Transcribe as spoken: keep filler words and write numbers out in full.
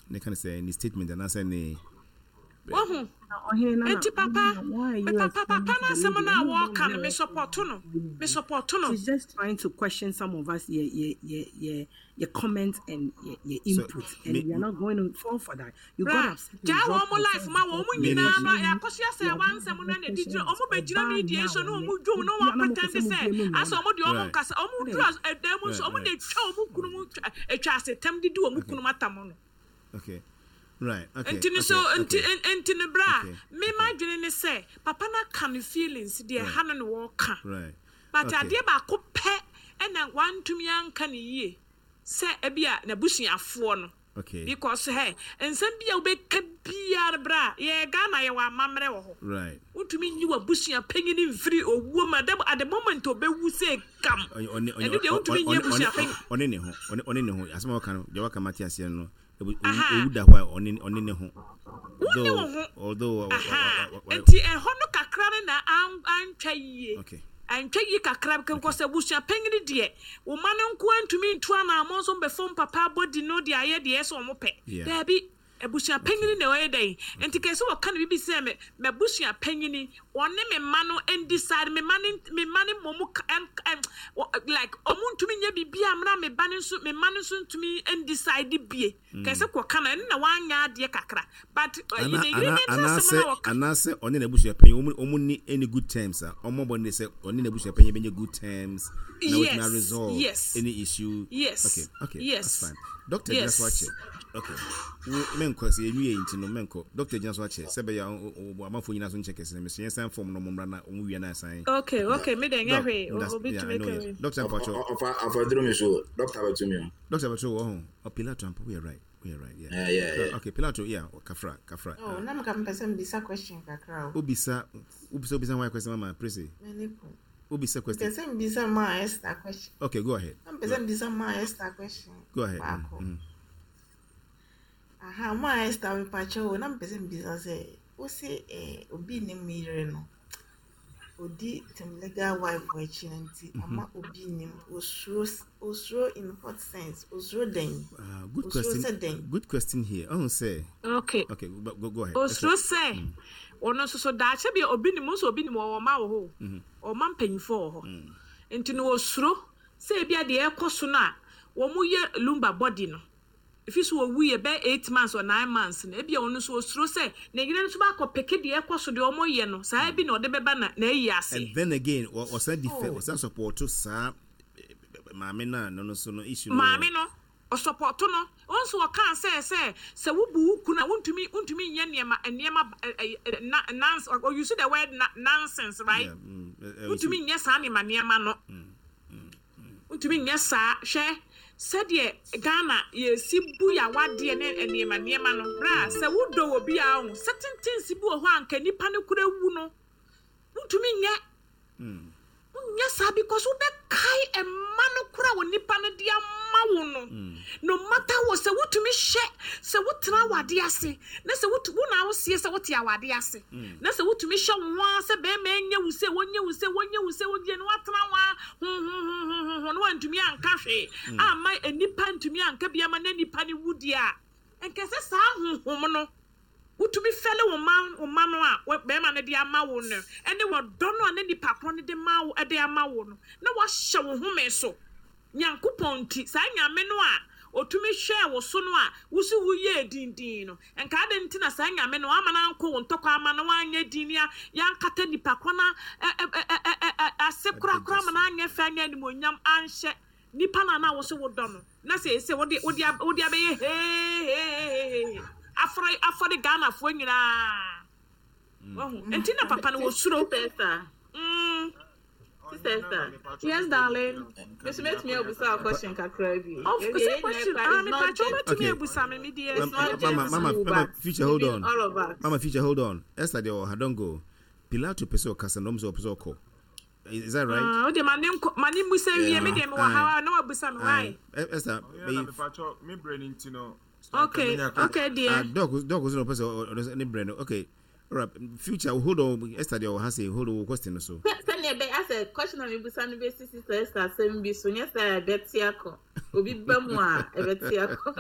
Ne ka ne sɛ ne statement anaasɛ ne Wahu? Enti papa, papa, papa no asɛm no a wɔreka no, me support no. Me support no. She's just trying to question some of us, your your your your, your comments and your, your input, so, and me, we are not going to fall for that. You got upset. Gya wɔn mo life ma wɔn mo nyinaa no akɔso asɛ wɔn nsɛm no na ɛdi gyina wɔn bɛ gyina media so na wɔn dwom na wɔn pretend sɛ asɛ wɔn deɛ wɔn nkasa. Wɔn duru ɛdan mu nso, wɔn na etwa wɔn kunu mu etwa asetam didi wɔn kunu atam no. Okay. Right. Okay. Nti no so nti nti no, bra, me ma dwene ne sɛ papa na ka ne feelings deɛ ha no na wɔka. Right. But adeɛ baako pɛ ɛna wantumi anka ne yie sɛ ebi a n'abusuafoɔ no. Okay. Because hey, nsɛm bi a wobɛka biara, bra, yɛ Ghana, yɛwɔ amammerɛ wɔ hɔ. Right. Wontumi nyi w'abusua panyin mfiri owuo mu at the moment obɛwu sɛ gam. Ɛno deɛ, wontumi nyi abusua panyin. Ɔne ne ho ɔne ne ho asɛm a wɔka no deɛ, wɔka mate aseɛ no, owu da hɔ a, ɔne ɔne ne ho. Wone wo ho. Although Nti ɛhɔ no kakra no na antwa yie. Okay. Antwa yie kakra nkɔ sɛ abusua panyin deɛ, wo ma no nko antumi ntu anammɔ nso mbɛfam papa abɔdi no de ayɛ deɛ ɛsɛ ɔmo pɛ. Daabi, abusua panyin na ɔyɛ dɛn nti kɛse wɔka no bibi sɛ me m'abusua panyin, ɔne me mma no ndecide, me mma no me mma no mmom like ɔmo ntumi nyɛ biribi a mena me ba no nso, me mma no nso ntumi ndecide bie. Kɛse kɔka no, ɛno na wanyɛ adeɛ kakra, but ɛyi ne yere ne nsɛm na wɔka. Anaasɛ ɔne n'abusua panyin ɔmo ɔmo ni any good terms a ɔmo bɔ ne sɛ ɔne n'abusua panyin bɛnyɛ good terms na wɔtumi resolve yes any issue. Yes. okay okay yes that's fine. Doctor gyina yes so akyɛ. Okay, wo menkɔ sɛ yɛnwie yi nti no, menkɔ. Doctor gyina so akyɛ sɛ bɛyɛ amanfoɔ nyinaa so nkyɛ kɛse no mesɛ yɛnsan fam no, ɔmo mmra na ɔmo wie na asan. okay okay me deɛ, nyɛ hwee, obi tumi ka wei. Doctor mpatwɔ. Ɔfa afɔduro mi so, doctor bɛtumi o. Doctor bɛtɔ wɔ ho. Oh, Pilato ampa, we are right, we are right, yeah. Yeah, yeah, yeah. Okay, Pilato, yeah, kafra kafra. Oh, na meka mpɛ sɛ mbisa question kakra o. Obisa, obisa, obisa why question, Mama Prissy? M'ani ko. Obisa question. Mpɛ sɛ mbisa ma Esther question. Okay, go ahead. Na mpɛ sɛ mbisa ma Esther question. Go ahead. Baako. mm. Aha, ma Esther, mepakyɛ o, na mpɛ sɛ mbisa sɛ wose eh, obi ne mu yere no odi tem legal wife wɔ akyi no, nti ama obi nim osuro, osuro in what sense? Osuro dɛn? Uh, good Osuro question. sɛ dɛn? Good question here. Ɔhun sɛ. Okay. Okay, go, go, go ahead. Osuro sɛ ɔno nso so daakye bi obi nim nso, obi nim ɔwɔ ɔma wɔ hɔ, ɔma mpanyinfoɔ wɔ hɔ, nti no osuro sɛ ebi adeɛ ɛkɔ so no a wɔn yɛ Lumba body no efi so owu yɛ bɛyɛ eight months or nine months no, ebi a ɔno nso osuro sɛ ne yere nso baakɔ peke deɛ ɛkɔ so deɛ ɔmo yɛ no saa bi na ɔde bɛba na na ayi ase. And then again, ɔsan di fɛ, ɔsan support saa maame na no no so no issue no. Maame no ɔsupport no, wɔn nso ɔkaa sɛ sɛ sɛ wobu wo kunu a, wontumi wontumi nyɛ nneɛma nneɛma ɛ ɛ na nonsense, or use the word na nonsense, right? Yeah, mm, eh, eh, Wontumi nyɛ saa nneɛma nneɛma no, wontumi nyɛ saa. Hwɛ sɛdeɛ Ghana yɛsi bu yawadeɛ ne nneɛma nneɛma no, bra, sɛ wodɔ wɔ bi a ho certain things bi wɔ hɔ a nka nipa no kura wu no, wontumi nyɛ, wonyɛ saa because wobɛkae ɛma no kora wɔ nipa no de ama wo no. No matter what, sɛ wotumi hyɛ sɛ wotena awade ase na sɛ wotu wo na wosie sɛ wote awade ase na sɛ wotumi hyɛ wo ho ara sɛ bɛrima ɛnyɛ wo sɛ wɔnyɛ wo sɛ wɔnyɛ wo sɛ wɔnyɛ no, watena wo a huhuhuhuhu na wantumi anka hwee ama nipa ntumi anka bi ama na nipa no wu deɛ a, nkɛ sɛ saa honhom no wotumi fɛle wo ma wo ma no a wɔ- bɛrima no de ama wo no, ɛne wɔdɔ no a ne nipa korɔ no de ma wo, ɛde ama wo no, na wahyɛ wo home so Nyankopɔn nti, saa Nyame no a otumi hwɛɛ wo so no a wosi woyɛɛ dindin no, nka ade nti na saa Nyame no ama no ankɔ wo ntɔkwa ama no wanyɛ din a yɛankata nipa korɔ no ɛ- ɛ- ɛ- ɛ- ɛ- ɛ- ase korakora ma no anyɛ fɛ, anyɛ animonyam anhyɛ nipa no a na wo so wodɔ no, na sɛ ɛsɛ wode wode ab- wode abɛyɛ heeheehehe afɔre afɔre Ghanafoɔ nyinaa wahu. Nti na papa no wɔsuro. Sister Esther. Mm. Sister Esther. Yes, darling. Miss metumi abusa a question kakra bi. Of course, question. Ah, me pa cho Okay. betumi abusa me me deɛ. It's not Mama, just Mama, you, Mama, but Future, hold even on. all of us. Mama Future, hold on. Esther deɛ ɔha, don't go. Pilato pɛ sɛ ɔkasa na ɔmo sɛ ɔpɛ sɛ ɔkɔ. Is that right? Ah, o de ma ne nkɔ ma ne musa wie, me deɛ me wɔ ha na wabusa me why. Aye. Esther, Ɔyɛ na mepatwɔ me brɛ no nti no. Okay, okay Ah, deɛ. Doc, Doc was no person or ne brɛ no. Okay. All right. Future, hold on. Esther deɛ ɔha say hold on question no so. Sɛnea ɛbɛyɛ asɛ question a mebusa no bɛsi Sister Esther asɛm bi so, nyɛ sɛ ɛbɛte akɔ obi ba mu a ɛbɛte akɔ.